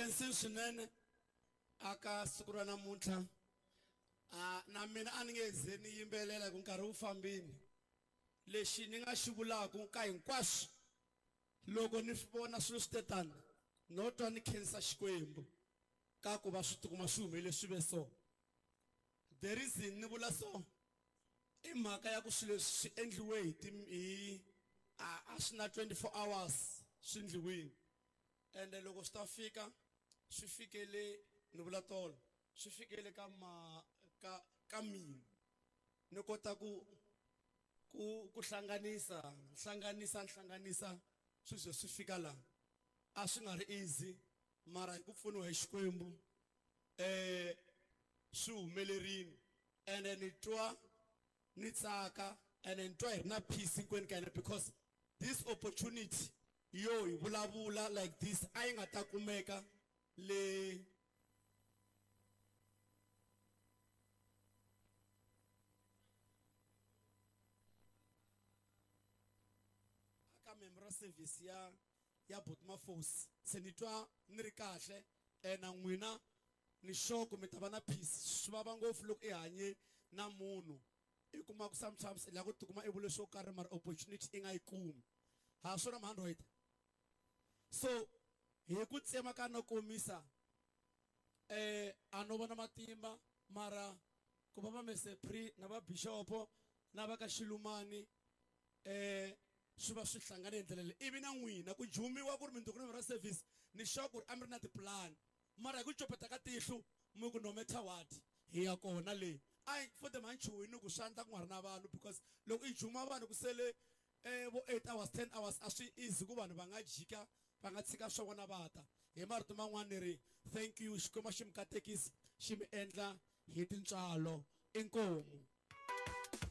Khensini swinene aka siku ra namuntlha. A na mina a ni nge ze ni yimbelela hi ku nkarhi wu fambini. Lexi ni nga xi vulaka ka hinkwaswo loko ni vona swilo swi te tani no twa ni khensa Xikwembu ka ku va swi tikuma swi humelele swi ve so. The reason ni vula so i mhaka ya ku swilo leswi swi endliwe hi ti hi a a swi na 24 hours swi endliwile ende loko swi ta fika swi fikele ni vula tolo swi fikele ka ma ka ka mina ni kota ku ku ku hlanganisa hlanganisa hlanganisa swi ze swi fika laha a swi nga ri easy mara hi ku pfuniwa hi Xikwembu eh swi humelerile ende ni twa ni tsaka ende ni twa hi ri na peace hinkwenu ka hina because this opportunity yo hi vulavula like this a yi nga ta kumeka le aka memorial service ya ya Botmafosi se ni twa ni ri kahle na n'wina ni sure ku mi ta va na peace swi vava ngopfu loko i hanye na munhu i kuma ku sometimes i lava ku tikuma i vule swo karhi mara opportunity i nga yi kumi ha swona mhandroid so hi ku tsema ka no komisa eh a no vona matimba mara ku va va mesepri na va bishopo na va ka xilumani eh swi va swi hlangane hi ndlela leyi ivi na n'wina ku jumiwa ku ri mindzuku na ra service ni sure ku ri a mi ri na tipulani mara hi ku copeta ka tihlo mi ku no matter what hi ya kona le a futhi ma ni chuhi ni ku swa endla ku nga ri na vanhu because loko i juma vanhu ku sele eh vo 8 hours 10 hours a swi easy ku vanhu va nga jika va nga tshika swa vona va ta hi marito man'wana ni ri thank you Xikwembu xi mi katekisa xi mi endla hi tintswalo inkomu.